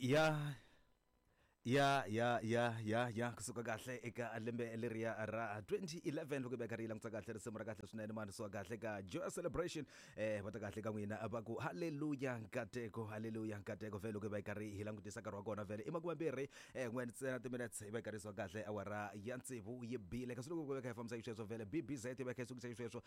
Ya ya ya ya ya ya kusuka kahle eka lembe leriya ra 2011 loko hi va karhi yi langutisa kahle risimu ra kahle swinene mani suka kahle ka Joy Celebration. Va ta kahle ka n'wina va ku haleluya nkateko, haleluya nkateko. Vhele loko hi va hi karhi hi langutisa nkarhi wa kona vhele i makumembirhi n'we ntsena timinutes hi va hi karhi suka kahle awara ya tsevu yi bile. Kasi loko hi va kha hi fambisa xisweswo vhele BBZ yi va kha yi sukisa xisweswo.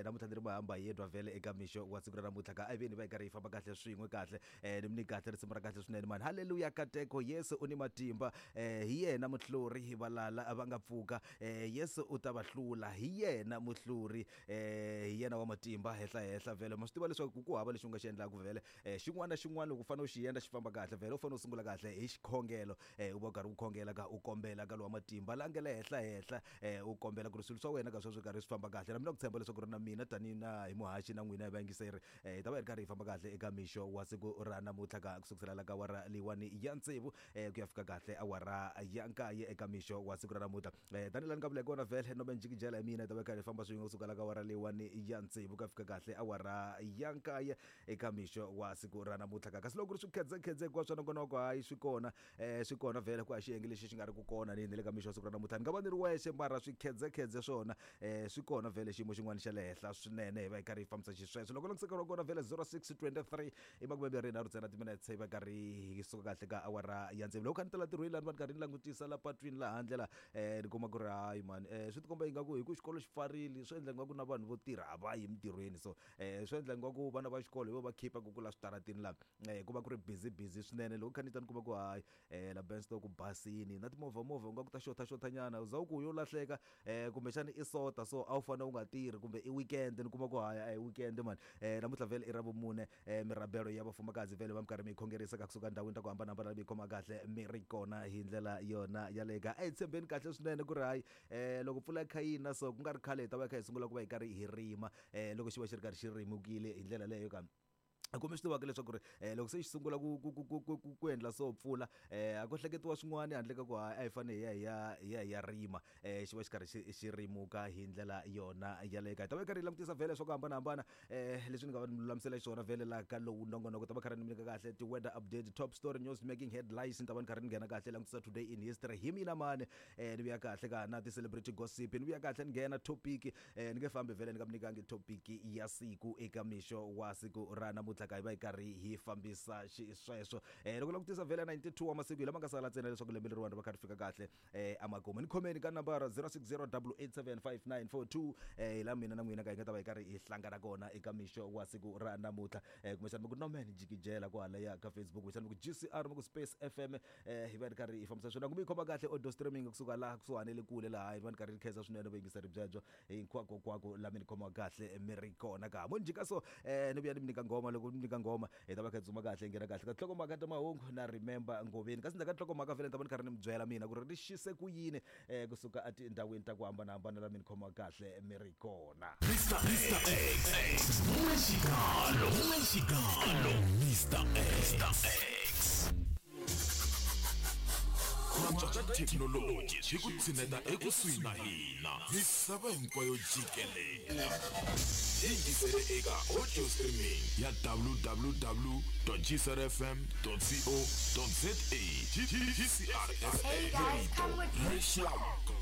Namuntlha ni ri mahamba yedwa vhele eka mixo wa siku ra namuntlha ka a hi veni hi va hi karhi hi famba kahle swin'we kahle. Ni mi nyika kahle risimu ra kahle swinene mani. Haleluya kateko, Yesu u ni matimba. Hi yena muhluri, valala va nga pfuka. Yesu u ta va hlula, hi yena muhluri. Hi yena wa matimba henhla henhla vhele. Ma swi tiva leswaku ku hava lexi u nga xi endlaka vhele. Xin'wana na xin'wana loko u fanele u xi endla xi famba kahle vhele u fanele u sungula kahle hi xikhongelo. U va u karhi u khongela ka u kombela ka lowa matimba la nga le henhla henhla, u kombela ku ri swilo swa wena ka sweswo karhi swi famba kahle. Na mina ku tshemba leswaku ri na mina tanihi na hi muhaxi na n'wina hi vayingiseri hi ta va hi ri karhi hi famba kahle eka mixo wa siku ra namuntlha ka ku sukusela la ka awara leyiwani ya tsevu ku ya fika kahle awara ya nkaye eka mixo wa siku ra namuntlha. Tanihi laha ni nga vula hi kona vhele no njikijela hi mina hi ta va hi karhi hi famba swin'we kusuka la ka awara leyiwani ya tsevu ku ya fika kahle awara ya nkaye eka mixo wa siku ra namuntlha ka. Kasi loko ku ri swikhedzekhedze hinkwaswo swa nongonoko hayi swi kona, swi kona vhele ku a xiyenge lexi xi nga ri ku kona ni le ka mixo wa siku ra namuntlha. Ni nga va ni ri wexe mara swikhedzekhedze swona swi kona vhele xiyimo xin'wana xa le henhla swinene hi va hi karhi hi fambisa xisweswo. Loko langutisa wa kona vhele 06:23 i makumembirhi nharhu ntsena timinetse hi va karhi hi suka kahle ka awara ya tsevu. Loko kha ni tala ntirhweni laha ni va ni karhi ni langutisa la patwini laha handle la, ni kuma ku ri hayi mani, swi tikomba ingaku hi ku xikolo xi pfarile swi endla ingaku na vanhu vo tirha a va yi emitirhweni, so swi endla ingaku vana va xikolo hi vo va khipaka ku la switarateni la, ku va ku ri busy busy swinene. Loko kha ni ta ni kuma ku hayi, la Benstock ku basini na timovha movha u nga ku ta xotha xotha nyana u za u ku yo lahleka, kumbexana i sota so a wu fanele u nga tirhi kumbe i weekend ni kuma ku hayi a hi weekend mani. Namuntlha vhele i ra vumune, mirabelo ya vafumakazi vhele va mi karhi mi yi khongerisa ka kusuka ndhawini ta ku hambanahambana mi yi khoma kahle mi ri kona hi ndlela yona yaleyo ka. A hi tshembeni kahle swinene ku ri hayi, loko mpfula yi kha yi na so ku nga ri khale hi ta va hi kha hi sungula ku va hi karhi hi rima, loko xi va xi ri karhi xi rimukile hi ndlela leyo ka. Kumbe swi tivaka leswaku ri loko se xi sungula ku ku ku ku ku ku endla so mpfula, a ko hleketiwa swin'wana handle ka ku hayi a hi fanele hi ya hi ya hi ya hi ya rima, xi va xi karhi xi xi rimuka hi ndlela yona yaleyo ka. Hi ta va hi karhi hi langutisa vhele swa ku hambanahambana, leswi ni nga va ni lulamisela xiswona vhele laha ka lowu nongonoko. Ta va karhi ni mi nyika kahle ti-weather update, top story news making headlines, ni ta va ni karhi ni nghena kahle langutisa today in history hi mina mani, ni vuya kahle ka na ti-celebrity gossip, ni vuya kahle ni nghena topic. Ni nge fambi vhele ni nga mi nyikangi topic ya siku eka mixo wa siku ra namuntlha ka hi va hi karhi hi fambisa xisweswo. Loko langutisa vhele 92 wa masiku hi lama nga sala ntsena leswaku lembe leriwani ri va kha ri fika kahle emakumu. Ni khomeni ka nambara 0608875942, hi laha mina na n'wina ka hi nga ta va hi karhi hi hlangana kona eka mixo wa siku ra namuntlha. Kumbexana mi ku nomen jikijela kwalaya ka Facebook, kumbexana mi ku GCR mi ku Space FM, hi va hi ri karhi hi fambisa swona. Ku mi yi khoma kahle audio streaming kusuka laha kusuhani le kule laha hi va ni karhi ni khensa swinene vayingiseri byebyo hinkwako laha mi ni khomaka kahle mi ri kona ka. Mo ni jika so, ni vuya ni mi nyika nghoma. Loko ni nyika nghoma hi ta va kha hi tsutsuma kahle hi nghena kahle ka tinhlokomhaka ta mahungu na Remember Ngoveni. Kasi ndzhaku ka tinhlokomhaka vhele ni ta va ni karhi ni mi byela mina ku ri ri xise ku yini, kusuka etindhawini ta ku hambanahambana laha mi ni khomaka kahle mi ri kona. Mr X, N'wexikalo, N'wexikalo, Mr X. Ku antswa ka thekinoloji swi ku tshineta ekusuhi na hina misava hinkwayo jikelele. Yingisele eka audio streaming ya www.gcrfm.co.za. GCRFA Hey guys, come with me. Rixaka.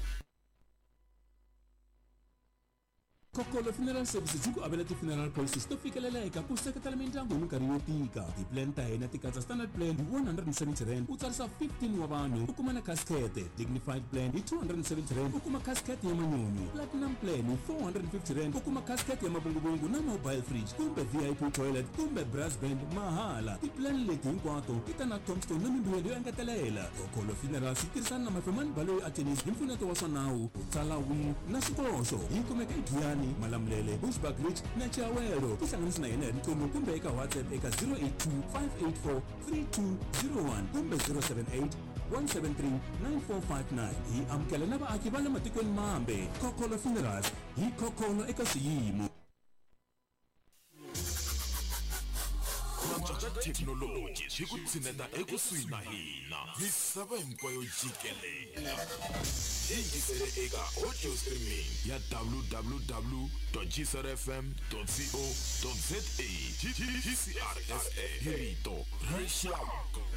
Kokolo Funeral Services yi ku avela ti-funeral policies to fikeleleka ku seketela mindyangu hi minkarhi yo tika. Ti-plan ta hina ti katsa standard plan hi 170 rand u tsarisa 15 wa vanhu u kuma na casket, dignified plan hi 270 rand u kuma casket ya manyunyu, platinum plan hi 450 rand u kuma casket ya mavunguvungu na mobile fridge kumbe VIP toilet kumbe brass band mahala. Ti-plan leti hinkwato ti ta na tombstone na mimbuyelo yo engetelela. Kokolo Funerals yi tirhisana na Mafemani Baloyi Attorneys hi mpfuneto wa swa nawu, ku tsala will na swikoxo. Yi kumeka eGiyani, Malamulele, Bushbuckridge na Chiawelo. Tihlanganisi na hina hi riqingho kumbe eka WhatsApp eka 082 584 3201 kumbe 078 173 9459. Hi amukela na vaaki va le matikweni mambe. Kokolo Funerals, hi khokholo eka swiyimo. Ku antswa ka thekinoloji swi ku tshineta ekusuhi na hina misava hinkwayo jikelele. Yingisele eka audio streaming ya www.gcrfm.co.za. GCRFA hi rito ra rixaka.